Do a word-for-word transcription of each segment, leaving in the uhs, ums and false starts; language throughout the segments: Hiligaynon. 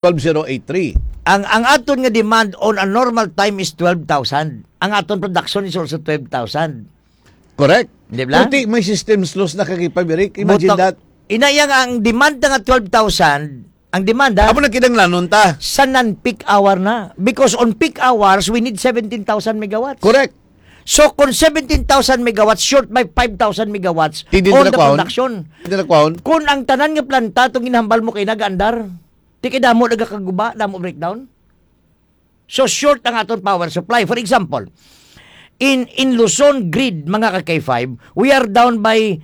twelve zero eight three. Ang, ang aton nga demand on a normal time is twelve thousand. Ang aton production is also twelve thousand. Correct. Di ba? Puti, may systems loss na, ka K five, Eric. Imagine Butok. that. Ina, yang ang demand na nga twelve thousand, ang demand, ha? Amo na kinahanglanon ta. Sa non-peak hour na. Because on peak hours, we need seventeen thousand megawatts. Correct. So, kung seventeen thousand megawatts short by five thousand megawatts Di din on the nila kwaon? production, Di nila kwaon? kung ang tanan nga planta, itong ginhambal mo kay nagaandar, di kay damo nagakaguba, damo breakdown. So, short ang aton power supply. For example, in, in Luzon grid, mga ka K five, we are down by,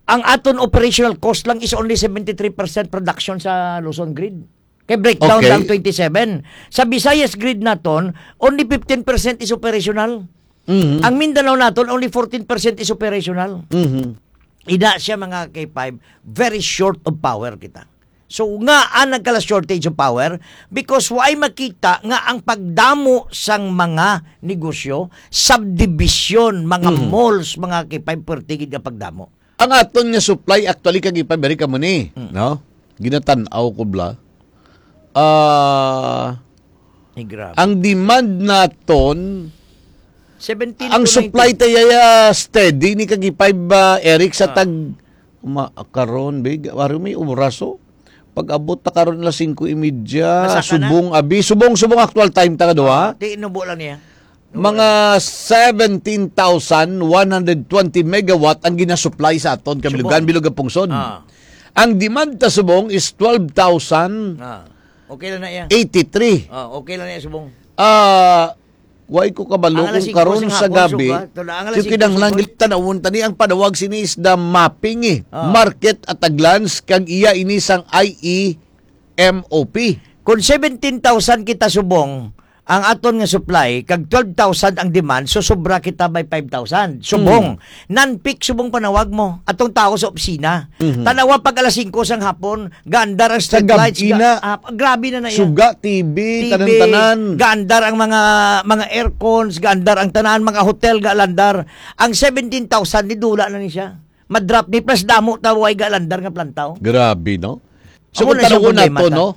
ang aton operational cost lang is only seventy-three percent production sa Luzon grid. Kay breakdown Okay. lang twenty-seven. Sa Visayas grid naton, only fifteen percent is operational. Mhm. Ang Mindanao naton, only fourteen percent is operational. Mhm. Ina siya, mga K five, very short of power kita. So, nga ang nagkala shortage of power? Because way makita nga ang pagdamo sang mga negosyo, subdivision, mga Mhm. malls, mga K five, pertigid nga pagdamo. Ang aton nga supply actually, ka K five, Eric, amo ni, Mm. no? Ginatan-aw ko bala. Ah, Ay, grabe. Ang demand naton, Seventeen ang to supply nineteen. tayo, ah, steady ni, ka K five, ah, Eric, sa Ah. tag, ma-, karon, big, wari may oras, oh. Pag-abot ta karon alas singko y media, Masaka na. subong, abi, subong, subong actual time ta nga duha. Ah, di, inubo lang niya. Mga seventeen thousand one hundred twenty megawatt ang ginasupply sa aton, Kabilugan, Subong. Bilog, Pungsod. Ah. Ang demand ta subong is twelve thousand Ah. Okay lang na iya. eighty-three. Ah, okay lang na iya, subong. Ah, way ko kabalo Ang alas kung singko karon sing sa hapon, gabi, suga. Tula, ang alas yung singko kinahanglan sing hapon. Gitanawan tani ang panawag sini is the mapping, eh. Ah. Market at a glance, kag iya ini sang I E M O P. Kung seventeen thousand kita subong, ang aton nga supply, kag twelve thousand ang demand, so sobra kita by five thousand. Subong. Hmm. Non-peak subong panawag mo. Atong tao sa opisina. Mhm. Tanawa pag alas singko sang hapon, gaandar ang Sa street lights, gabi ga-, na. ah, grabe na na iya. Suga, T V, T V, tanan-tanan. gaandar ang mga, mga aircons, gaandar ang tanan, mga hotel, galandar. Ang seventeen thousand, nidula na ni siya. Madrop ni, plus damo ta way galandar nga plantaw. Grabe, no? So, Amo kung na siyang tanawon problema nato, ta. no?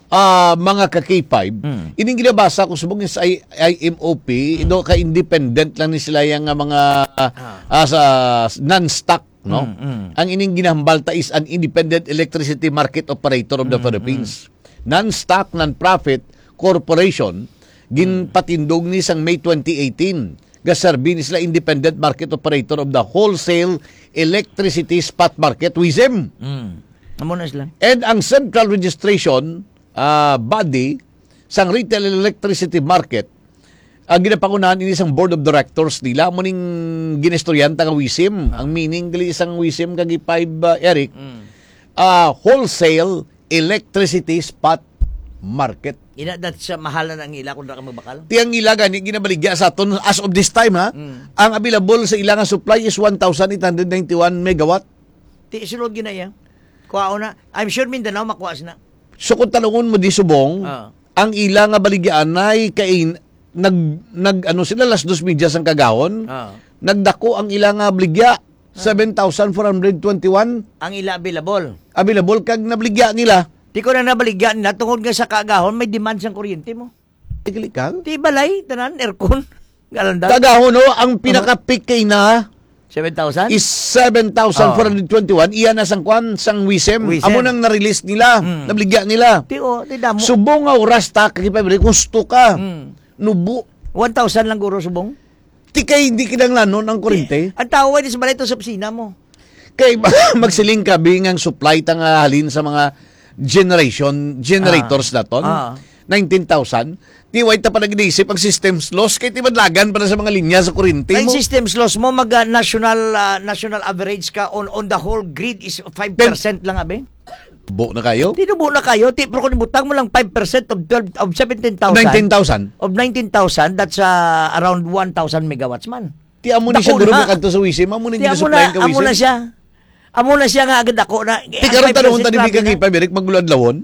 Ah, mga ka K five, Mm. ining ginabasa ko subong sa I-, I M O P, Mm. no, ka independent lang ni sila yang nga mga, Ah. ah, sa non-stock, no? Mm, mm. Ang ining ginahambal ta is an independent electricity market operator of the Mm, Philippines. mm. Non-stock, non-profit corporation, Mm. ginpatindog ni sang May twenty eighteen. Gaserbi ni sila independent market operator of the wholesale electricity spot market, WESM. Mm. Amo na sila. And ang central registration, ah, body sang retail electricity market, ang ginapangunahan ini sang board of directors nila, amo ning ginistoryahan ta nga WESM. Ang meaning dili sang WESM kag five, ah, Eric, Mm. ah, wholesale electricity spot market. Ina, that siya, mahal na ang ila kung ra ka magbakal? Ti ang ila gani ginabaligya sa aton as of this time, ha? Mm. Ang available sa ila nga supply is one thousand eight hundred ninety-one megawatt. Ti, sulod gina iya. Kuhaon na. I'm sure Mindanao makuha sina. So, kung tanungon mo di subong, Ah. ang ila nga baligyaanay kay nag, nag, ano sila, las dos media sang kagahon, Ah. nagdako ang ila nga baligya, Ah. seven thousand four hundred twenty-one Ang ila available. available, kag nabaligya nila. Di ko na nabaligya nila tungod nga sa kagahon may demand sang kuryente mo. Tigli ka? Ti balay, tanan, aircon. Galandar. Kagahon, no, ang Ano? pinaka-peak kay na Seven thousand? is seven thousand four hundred twenty-one. Iya na sang kwan, sang WESM. WESM. Amo nang na-release nila, Mm. nabaligya nila. Ti, oh, ti damo. Subong nga oras ta, kay pa, gusto ka. Mm. Nubo. One thousand lang guro subong? Ti kay hindi kinahanglanon ang kurente. Ang tao ay di sa balay to sa opisina mo. Kay magsiling ka, bing, ang supply ta nga halin sa mga generation, generators Ah. naton, Ah. nineteen thousand. Ti way ta pa nag-inisip ang systems loss, kay ti madlagan pa na sa mga linya sa kurente Ang mo. systems loss mo, mag, ah, national, ah, national average ka on, on the whole grid is five percent lang, abi? Bo na kayo? Tinubo na kayo, ti, pero kung ibutang mo lang five percent of twelve, of seventeen thousand, Nineteen thousand. of nineteen thousand, that's, ah, around one thousand megawatts man. Ti amo ni siya Dako guro na. Makadto sa WESM, amo ni Ti amo gisupply na, ka amo na WESM. siya. Amo na siya nga agad ako na. Ti karon ang tanong five percent tani grabe ka na. Kay Pamirik magluad-lawon.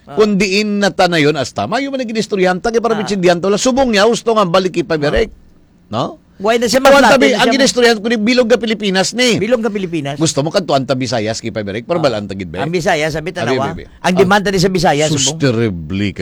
Ah. Kung diin na tanayon asta, mayo man ang ginistoryahan ta kay para Ah. bitsindihan to lang. Subong niya, gusto nga balik kay Pamirik. Ah. No? Why na siya Tuwan ma-flatten tabi, na ang siya? Ginistoryahan ko ni bilog nga Pilipinas ni. Bilog nga Pilipinas. Gusto mo kadtuan ta Bisayas, Kipa Berik, para balaan ta gid ba? Ang Bisaya, sabi, Abi, tanawa. abi, abi. Ang demand ni sa Bisaya, Sus, subong. Terrible ka,